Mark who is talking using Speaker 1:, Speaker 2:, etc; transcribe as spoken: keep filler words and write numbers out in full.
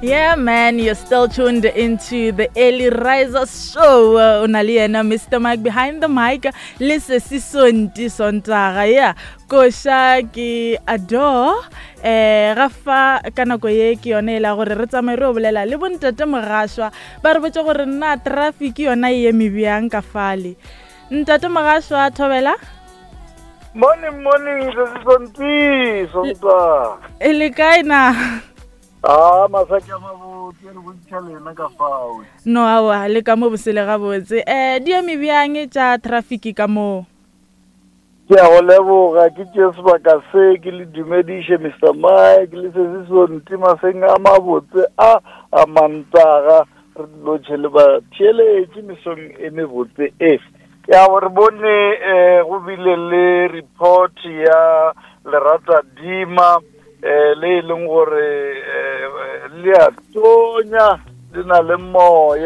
Speaker 1: Yeah, man, you're still tuned into the Early Riser Show. O na le yena Mister Mike behind the mic le se Sonti Sontaga. Yeah, koša ke adore. Eh, ga fa ka nako ye ke yone e la gore re tsamaye re o bolela le bontate Mogašwa, ba re botse gore nna traffic yona e eme bjang ka fale. Ntate Mogašwa, thobela.
Speaker 2: Morning, morning, se Sonti Sonta.
Speaker 1: E le kae na?
Speaker 2: Ah, masaki a mabotse, re bontšha lena ka fao.
Speaker 1: No, aowa, le ka mo bosele gabotse. Um di eme bjang tša traffic ka moo?
Speaker 2: Ke a go leboga, ke tšee sebaka se ke le dumediše Mister Mike le se se Sonti maseng a mabotse a a Mantaga, re lotšhe le ba theeletše mesong e mebotse e. Ya re bone eh go bile le report ya Lerata Dima eh le e leng gore eh le a tonya, le na le moya.